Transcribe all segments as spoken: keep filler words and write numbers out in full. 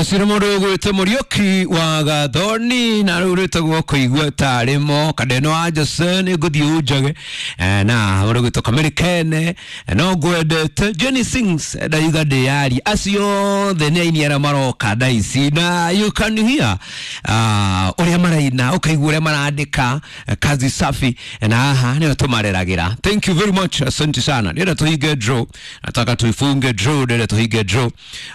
Ũcio nĩ mũndũ ũgwĩtwo Mũriũki wa Gathoni na rĩu rwĩtagwo kũigua tarĩ mo Kandeno wa Jose nĩ ngũthiĩ ũnjage. Eh, na mũndũ ũgwĩtwo Kamĩrĩ Kene, eh, no ngwendete Jenny Sings, eh, ndaiga ndĩyaria acio othe nĩ aini arĩa maroka thaa ici na you can hear ah, ũrĩa maraina, ũkaigua ũrĩa marandĩka, eh, kazi safi, na haha nĩyo tũmareragĩra. Thank you very much, asante sana. Ndĩrenda tũhinge draw, nataka tuifunge draw, ndĩrenda tũhinge draw.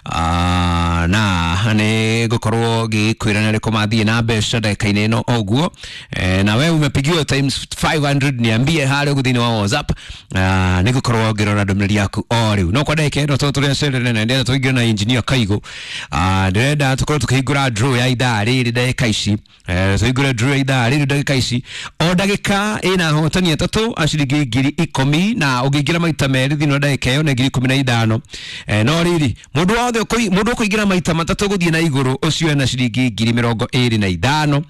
Ah, na nĩ ngũkorwo ngĩkwĩra nĩ arĩkũ mathiĩ na mbeca ndagĩka-inĩ ĩno oguo. Eh, na we umepigiwa times five hundred, niambie harĩa ũguo thĩinĩ wa WhatsApp. Ah, nĩ ngũkorwo ngĩrora ndũmĩrĩri yaku o rĩu, no kwa ndagĩka ĩno tondũ tũrĩa cerere na ndĩrenda tũingĩre na engineer Kaigũ. Ah, ndĩrenda tũkorwo tũkĩhingũra draw ya ithaa rĩrĩ ndagĩka ici. Eh, tũhingũre draw ya ithaa rĩrĩ ndagĩka ici, o ndagĩka ĩna ahotani atatũ a ciringi ngiri ikũmi, na ũngĩingĩra maita merĩ thĩinĩ wa ndagĩka ĩyo nĩ ngiri ikũmi na ithano. Eh, no rĩrĩ mũndũ wothe ũkũi- mũndũ ũkũingĩra maita matatũ gũthiĩ na igũrũ, ũcio ena ciringi ngiri mĩrongo ĩrĩ na ithano.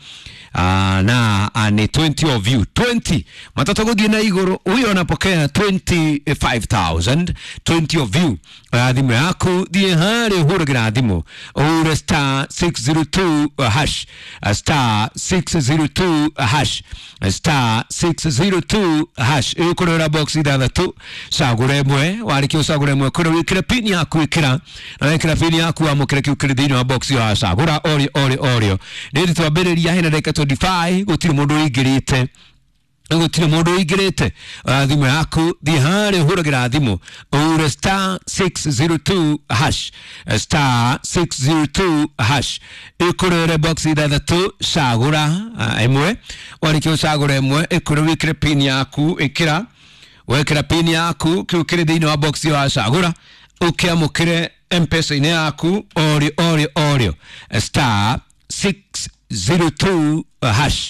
Ah, na ah, ni twenty of you, twenty matatũ gũthiĩ na igũrũ, huyo anapokea twenty-five thousand. twenty of you. uh, thimũ yaku, thiĩ harĩa ũhũragĩra thimũ, ũhure star six zero two uh, hash, uh, star six zero two hash, uh, star six zero two hash, ĩgũkũrehera box ithathatũ, cagũra ĩmwe. Warĩkia ũcagũra ĩmwe, kũrĩa wĩkĩre pin yaku, ĩkĩra na wekĩra pin yaku, wamũkĩre kĩu kĩrĩ thĩinĩ wa box ĩyo wacagũra orĩo orĩo orĩo. Rĩrĩ twambĩrĩria hena ndagĩka mĩrongo ĩrĩ na ithano, gũtirĩ mũndũ ũingĩrĩte, gũtirĩ mũndũ ũingĩrĩte. uh, thimũ yaku, thiĩ harĩa ũhũragĩra thimũ, ũhure star six zero two hash, star six zero two hash, ĩkũrere box ithathatũ, cagũra uh, ĩmwe. Warĩkia ũcagũra ĩmwe, ĩkũre wĩkĩre pin yaku, ĩkĩra, wekĩra pin yaku, kĩu kĩrĩ thĩinĩ wa box ĩyo wacagũra ũkĩamũkĩre M-Pesa-inĩ yaku orĩo orĩo orĩo, star six zero two hash.